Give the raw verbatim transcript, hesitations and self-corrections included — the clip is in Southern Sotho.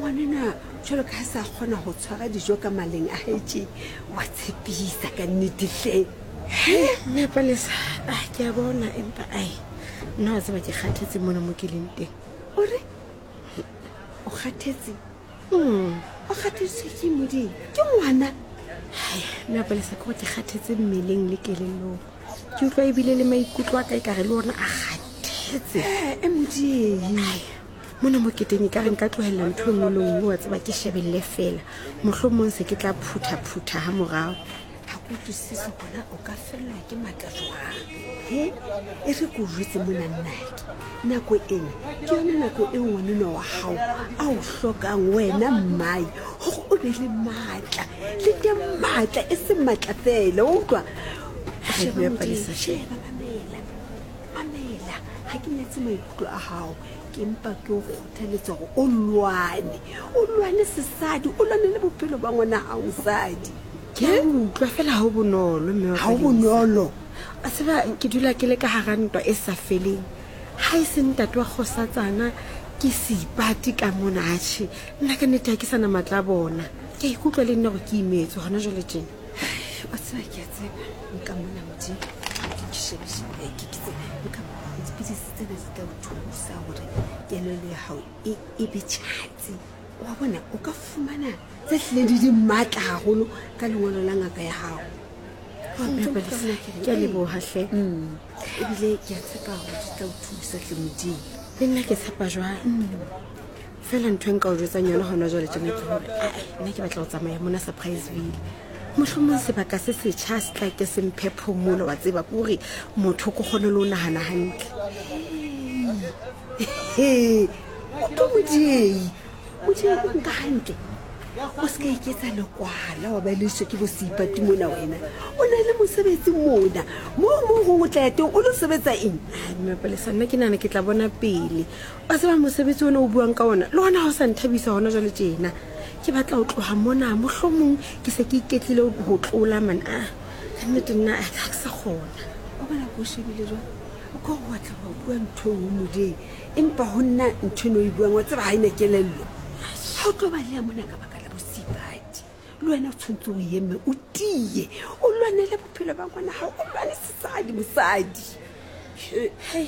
Ngwanenwa jwalo ka ha sa kgona ho tshwara dijo ka maleng a hae tje, wa tshepisa ka nnete hle. Mme Palesa, ah, ke a bona empa ai nna wa tseba ke kgathetse mona mo ke leng teng. O re o kgathetse? Mm. O kgathetswe ke modimo ke ngwana? Hai, mme Palesa, ke gore ke kgathetse mmeleng le kelellong. Ke utlwa ebile le maikutlo a ka ekare le ona a kgathetse. E Modiei. Ai, mona mo keteng e ka re nka tlohella ntho e nngwe le nngwe, wa tseba ke shebelle fela. Mohlomong se ke tla phutha-phutha ha morao. Ha ke utlwisise hona o ka fellwa ke matla jwang. He, e re ke o jwetse mona nnake. Nako ena ke yona nako eo ngwanenwa wa hao a o hlokang wena mmae hore o be le matla. Le teng matla e seng matla fela, wa utlwa? Hai, Sheba mme Modiei, Palesa, sheba, mamela. Mamela, ha ke nyatse maikutlo a hao. Ke mpa ke o kgothaletsa hore o lwane. O lwane sesadi, o lwane le bophelo ba ngwana hao mosadi. Ke a utlwa fela ha ho bonolo, mme wa Ha ho Palesa. bonolo. A tseba ke dula ke le ka hara ntwa e sa feleng. Ha e se ntate wa kgosatsana ke seipati ka mona, atjhe. Nna ka nnete ha ke sana matla a bona. Ke a ikutlwa le nna hore ke imetswe hona jwale tjena. Wa tseba ke a tseba nka mona Modimo. Ke shebe shebe ke ke tsebe nka dipidisi tsena di tla o thusa hore kelello ya hao e e be tjhatsi. Wa bona o ka fumana tse hlileng di di matla haholo ka lengolo la ngaka ya hao. Mme Palesa, ke a leboha hle. Ebile ke a tshepa hore di tla o thusa hle Modimo. Le nna ke tshepa jwalo. Fela ntho e nka o jwetsang yona hona jwale tjena ke hore, ae, nna ke batla ho tsamaya mona Surpriseville. Mohlomong sebaka se setjha se tla ke se mphe phomolo, wa tseba, ke hore motho ko kgone le ho nahana hantle. He, o tlo Modiei. Modiei o nka hantle. O se ka iketsa lekwala wa ba leswe ke bo seipati mona wena. O na le mosebetsi mona. Moo moo gongwe o tla ya teng o lo sebetsa eng? Ai, mme Palesa, nna ke nahana ke tla bona pele. Wa tseba mosebetsi ona o buang ka ona, le ona ha o sa nthabisa hona jwale tjena. Ke batla ho tloha mona, mohlomong ke se ke iketlile ho tlola man. Ah, ka nnete nna ha ke sa kgona. O bona ko shebile jwang? O ka o batla ho bua ntho e nngwe Modiei, empa ho nna ntho eno o e buang wa tseba ha ena kelello. Ha o tlo baleha mona ka baka la bosipati. Le wena o tshwanetse o eme, o tiye, o lwanele bophelo ba ngwana hao, o lwane sesadi mosadi. Hei,